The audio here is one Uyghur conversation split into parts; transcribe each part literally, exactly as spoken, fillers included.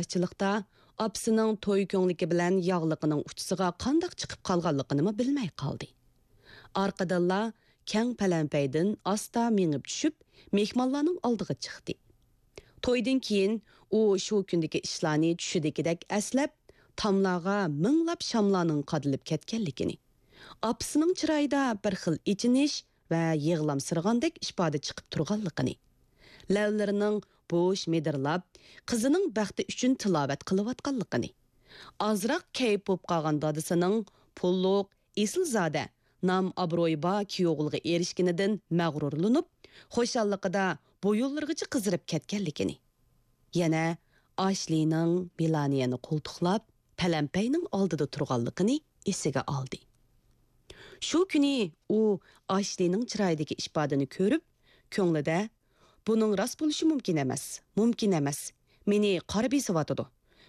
قارشىلىقتا ئاپىسىنىڭ توي كۆڭلىكى بىلەن ياغلىقىنىڭ ئۇچىسىغا قانداق چىقىپ قالغانلىقىنىمۇ بىلمەي قالدى. ئارقىدىنلا كەڭ پەلەمپەيدىن ئاستا مېڭىپ چۈشۈپ، مېھمانلارنىڭ ئالدىغا چىقتى. تويدىن كېيىن ئۇ شۇ كۈندىكى ئىشلارنى چۈشىدىكىدەك ئەسلەپ، تاملارغا مىڭلاپ شاملارنىڭ قادىلىپ كەتكەنلىكىنى، ئاپىسىنىڭ چىرايىدا بىر خىل ئېچىنىش ۋە يىغلامسىرىغاندەك ئىپادە چىقىپ تۇرغانلىقىنى، لەۋلىرىنىڭ بوش مىدىرلاپ، قىزىنىڭ بەختى ئۈچۈن تىلاۋەت قىلىۋاتقانلىقىنى، ئازراق كەيپ بولۇپ قالغان دادىسىنىڭ پۇللۇق، ئېسىلزادە، نام-ئابرۇيى بار كۈيئوغۇلغا ئېرىشكىنىدىن مەغرۇرلىنىپ، خۇشاللىقىدا بويۇنلىرىغىچە قىزىرىپ كەتكەنلىكىنى، يەنە ئاشلىنىڭ مېلانىيەنى قولتۇقلاپ، پەلەمپەينىڭ ئالدىدا تۇرغانلىقىنى ئېسىگە ئالدى. شۇ كۈنى ئۇ ئاشلىنىڭ چىرايىدىكى ئىپادىنى كۆرۈپ، كۆڭلىدە، «بۇنىڭ راست بولۇشى مۇمكىن ئەمەس، مۇمكىن ئەمەس. مېنى قارا بېسىۋاتىدۇ.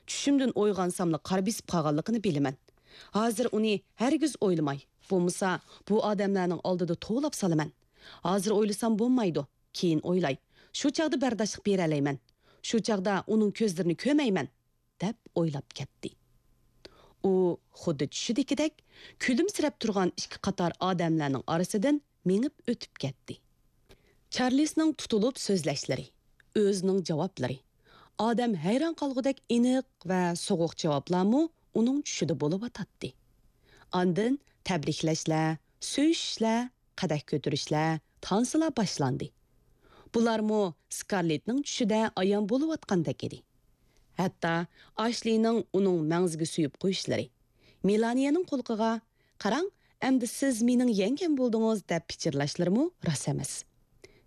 چۈشۈمدىن ئويغانساملا قارا بېسىپ قالغانلىقىنى بىلىمەن. ھازىر ئۇنى ھەرگىز ئويلىماي، بولمىسا بۇ ئادەملەرنىڭ ئالدىدا توۋلاپ سالىمەن. ھازىر ئويلىسام بولمايدۇ، كېيىن ئويلاي. شۇ چاغدا بەرداشلىق بېرەلەيمەن. شۇ چاغدا ئۇنىڭ كۆزلىرىنى كۆرمەيمەن.» دەپ ئويلاپ كەتتى. ئۇ خۇددى چۈشىدىكىدەك كۈلۈمسىرەپ تۇرغان ئىككى قاتار ئادەملەرنىڭ ئارىسىدىن مېڭىپ ئۆتۈپ كەتتى. چارلىسنىڭ تۇتۇلۇپ سۆزلەشلىرى، ئۆزىنىڭ جاۋابلىرى، ئادەم ھەيران قالغۇدەك ئېنىق ۋە سوغۇق جاۋابلارمۇ ئۇنىڭ چۈشىدە بولۇۋاتاتتى. ئاندىن تەبرىكلەشلەر، سۆيۈشۈشلەر، قەدەھ كۆتۈرۈشلەر، تانسىلار باشلاندى. بۇلارمۇ سكارلېتنىڭ چۈشىدە ئايان بولۇۋاتقاندەك ئىدى. ھەتتا ئاشلىنىڭ ئۇنىڭ مەڭزىگە سۆيۈپ قويۇشلىرى، مېلانىيەنىڭ قۇلىقىغا، «قاراڭ، ئەمدى سىز مېنىڭ يەڭگەم بولدىڭىز» دەپ پىچىرلاشلىرىمۇ راست ئەمەس.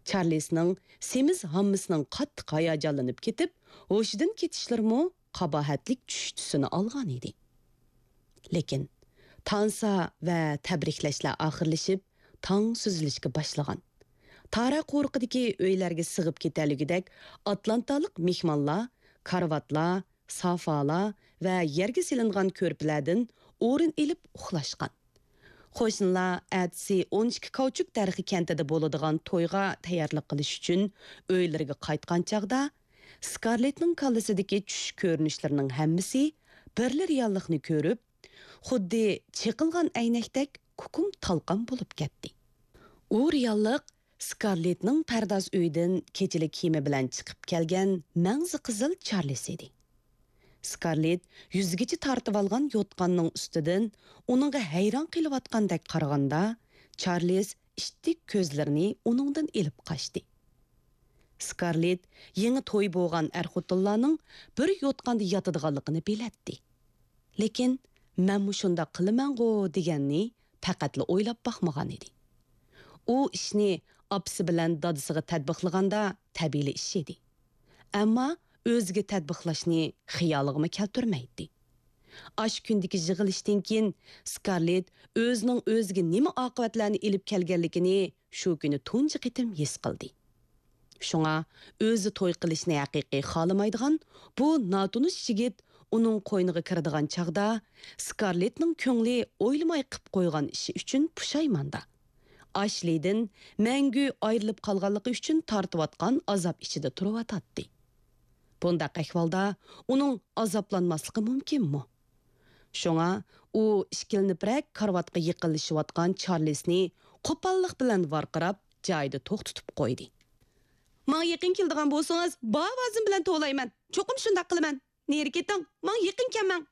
چارلىسنىڭ سېمىز ھاممىسىنىڭ قاتتىق ھاياجانلىنىپ كېتىپ، ھوشىدىن كېتىشلىرىمۇ قاباھەتلىك چۈش تۈسىنى ئالغان ئىدى. لېكىن تانسا ۋە تەبرىكلەشلەر ئاخىرلىشىپ، تاڭ سۈزۈلۈشكە باشلىغان. تارا قورۇقىدىكى ئۆيلەرگە سىغىپ كېتەلىگۈدەك ئاتلانتالىق مېھمانلار كارىۋاتلار، سافالار ۋە يەرگە سېلىنغان كۆرپىلەردىن ئورۇن ئېلىپ ئۇخلاشقان. قوشنىلار ئەتىسى ئون ئىككى كاۋچۇك دەرىخى كەنتىدە بولىدىغان تويغا تەييارلىق قىلىش ئۈچۈن ئۆيلىرىگە قايتقان چاغدا، سكارلېتنىڭ كاللىسىدىكى چۈش كۆرۈنۈشلىرىنىڭ ھەممىسى بىرلا رېئاللىقنى كۆرۈپ، خۇددى چېقىلغان ئەينەكتەك كۇكۇم تالقان بولۇپ كەتتى. ئۇ رېئاللىق سكارلېتنىڭ پەرداز ئۆيىدىن كېچىلىك كىيىمى بىلەن چىقىپ كەلگەن مەڭزى قىزىل چارلىس ئىدى. سكارلېت يۈزىگىچە تارتىۋالغان يوتقاننىڭ ئۈستىدىن ئۇنىڭغا ھەيران قېلىۋاتقاندەك قارىغاندا، چارلىس ئىتتىك كۆزلىرىنى ئۇنىڭدىن ئېلىپ قاچتى. سكارلېت يېڭى توي بولغان ئەر-خوتۇنلارنىڭ بىر يوتقاندا ياتىدىغانلىقىنى بىلەتتى. لېكىن «مەنمۇ شۇنداق قىلىمەنغۇ» دېگەننى پەقەتلا ئويلاپ باقمىغان ئىدى. ئۇ ئىشنى ئاپىسى بىلەن دادىسىغا تەتبىقلىغاندا تەبىئىي ئىش ئىدى. ئەمما ئۆزىگە تەتبىقلاشنى خىيالىغىمۇ كەلتۈرمەيتتى. ئاشۇ كۈندىكى يىغىلىشتىن كېيىن سكارلېت ئۆزىنىڭ ئۆزىگە نېمە ئاقىۋەتلەرنى ئېلىپ كەلگەنلىكىنى شۇ كۈنى تۇنجى قېتىم ھېس قىلدى. شۇڭا ئۆزى توي قىلىشنى ھەقىقىي خالىمايدىغان بۇ ناتونۇش يىگىت ئۇنىڭ قوينىغا كىرىدىغان چاغدا، سكارلېتنىڭ كۆڭلى ئويلىماي قىپ قويغان ئىشى ئۈچۈن پۇشايماندا، ئاشلىدىن مەڭگۈ ئايرىلىپ قالغانلىقى ئۈچۈن تارتىۋاتقان ئازاب ئىچىدە تۇرۇۋاتاتتى. بۇنداق ئەھۋالدا ئۇنىڭ ئازابلانماسلىقى مۇمكىنمۇ؟ شۇڭا ئۇ ئىككىلىنىپرەك كارىۋاتقا يېقىنلىشىۋاتقان چارلىسنى قوپاللىق بىلەن ۋارقىراپ، جايىدا توختىتىپ قويدى. ماڭا يېقىن كېلىدىغان بولسىڭىز، بار ئاۋازىم بىلەن توۋلايمەن. چوقۇم شۇنداق قىلىمەن. نېرى كېتىڭ، ماڭا يېقىن كەلمەڭ.